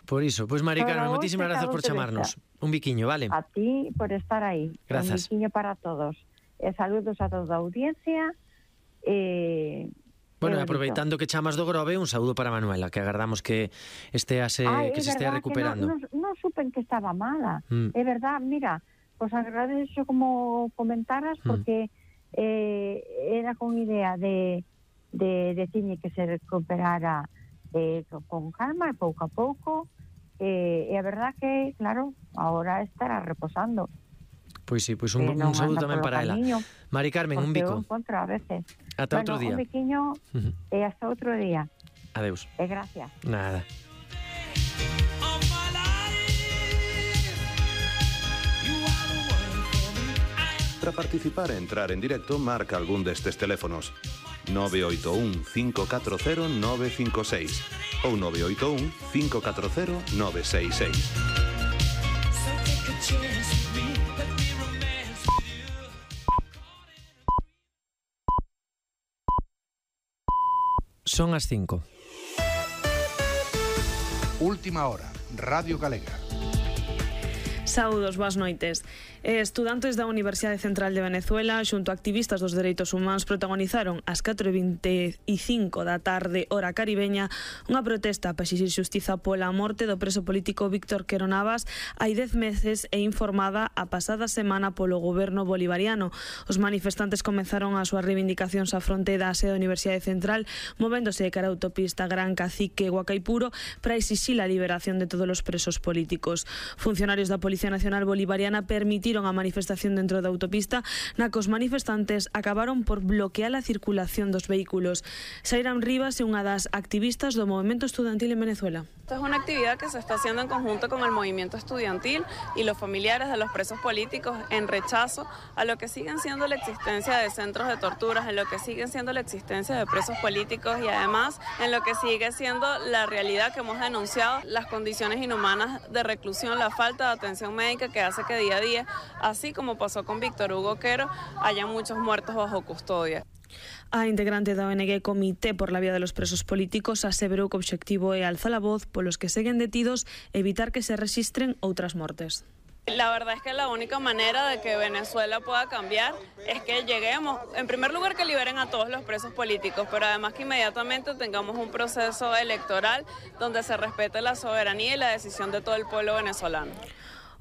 Por iso, pois Mari Carmen, moitísimas grazas por chamarnos. Un biquiño, vale? A ti por estar aí. Grazas. Un biquiño para todos. Saludos a toda a audiencia. Bueno, aproveitando que chamas do Grove, un saúdo para Manuela, que agardamos que estea se estea recuperando. Non supen que estaba mala. É verdad, mira, pues agradezo como comentaras, porque era con idea de decirme que se recuperara con calma, pouco a pouco, e a verdad que, claro, ahora estará reposando. Pois sí, pois un saúdo tamén para ela. Mari Carmen, un bico. Encontro a veces. Ata outro día. Un biquiño e hasta outro día. Adeus. E gracias. Nada. Para participar e entrar en directo, marca algún destes teléfonos: 981 540 956 ou 981 540 966. Son as 5. Última hora, Radio Galega. Saúdos, boas noites. Estudantes da Universidade Central de Venezuela xunto a activistas dos dereitos humanos protagonizaron ás 4:25 da tarde, hora caribeña, unha protesta para exixir xustiza pola morte do preso político Víctor Quero Navas hai 10 meses e informada a pasada semana polo goberno bolivariano. Os manifestantes comenzaron as súas reivindicacións á fronte da sede da Universidade Central, movéndose de cara a autopista Gran Cacique Huacaipuro para exixir a liberación de todos os presos políticos. Funcionarios da Policía Nacional Bolivariana permitiron a manifestación dentro da autopista, na que os manifestantes acabaron por bloquear a circulación dos vehículos. Sairam Rivas é unha das activistas do movimento estudiantil en Venezuela. Esta es una actividad que se está haciendo en conjunto con el movimiento estudiantil y los familiares de los presos políticos en rechazo a lo que siguen siendo la existencia de centros de torturas, en lo que siguen siendo la existencia de presos políticos y además en lo que sigue siendo la realidad que hemos denunciado, las condiciones inhumanas de reclusión, la falta de atención médica que hace que día a día, así como pasó con Víctor Hugo Quero, haya muchos muertos bajo custodia. A integrante da ONG Comité por la Vía de los Presos Políticos aseverou que o obxectivo é alzar a voz polos que seguen detidos e evitar que se rexistren outras mortes. La verdad es que la única manera de que Venezuela pueda cambiar es que lleguemos, en primer lugar, que liberen a todos los presos políticos, pero además que inmediatamente tengamos un proceso electoral donde se respete la soberanía y la decisión de todo el pueblo venezolano.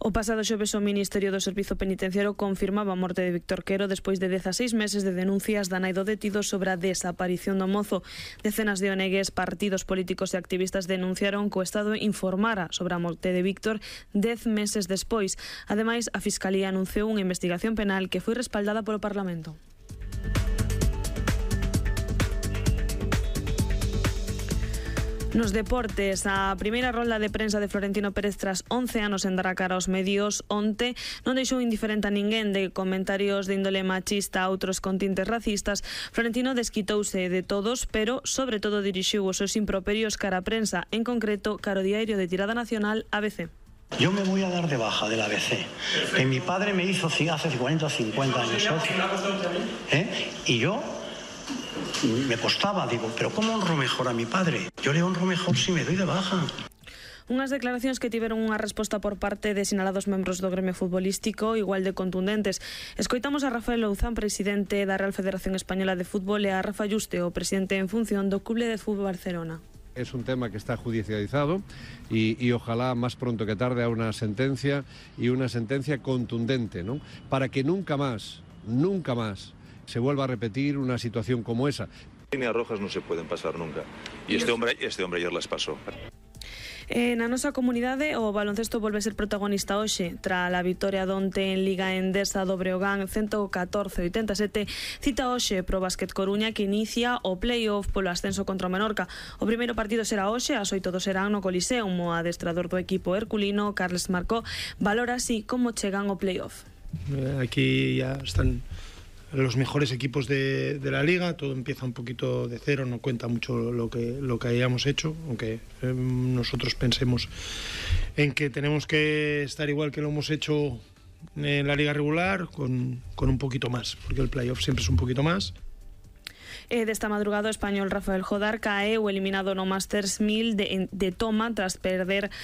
O pasado xoves o Ministerio do Servizo Penitenciario confirmaba a morte de Víctor Quero despois de 16 meses de denuncias da nai do detido sobre a desaparición do mozo. Decenas de ONGs, partidos políticos e activistas denunciaron que o Estado informara sobre a morte de Víctor 10 meses despois. Ademais, a Fiscalía anunciou unha investigación penal que foi respaldada polo Parlamento. Nos deportes, a primeira rolda de prensa de Florentino Pérez tras 11 anos en dar a cara aos medios onte non deixou indiferente a ninguén de comentarios de índole machista a outros con tintes racistas. Florentino desquitouse de todos, pero sobre todo dirixiu os seus improperios cara a prensa, en concreto cara ao diario de tirada nacional ABC. Yo me voy a dar de baja del ABC, que mi padre me hizo hace 40 o 50 años. Y yo me costaba, digo, pero ¿cómo honro mejor a mi padre? Yo le honro mejor si me doy de baja. Unhas declaracións que tiveron unha resposta por parte de sinalados membros do gremio futbolístico igual de contundentes. Escoitamos a Rafael Louzán, presidente da Real Federación Española de Fútbol, e a Rafa Yuste, o presidente en función do Club de Fútbol Barcelona. Es un tema que está judicializado y ojalá más pronto que tarde a una sentencia y una sentencia contundente, ¿no? Para que nunca más se vuelva a repetir una situación como esa. Líneas rojas no se pueden pasar nunca. Y este hombre ayer las pasó. Na nosa comunidade, o baloncesto volve a ser protagonista hoxe tra a vitoria donte en Liga Endesa do Breogán 114-87. Cita hoxe pro Básquet Coruña, que inicia o play-off polo ascenso contra o Menorca. O primeiro partido será hoxe, as 8 serán no Coliseum. O adestrador do equipo herculino, Carles Marcó, valora así como chegan o play-off. Aquí ya están los mejores equipos de la liga, todo empieza un poquito de cero, no cuenta mucho lo que hayamos hecho, aunque nosotros pensemos en que tenemos que estar igual que lo hemos hecho en la liga regular, con un poquito más, porque el playoff siempre es un poquito más. Desta madrugada o español Rafael Jodar caeu eliminado no Masters 1000 de Toma tras perder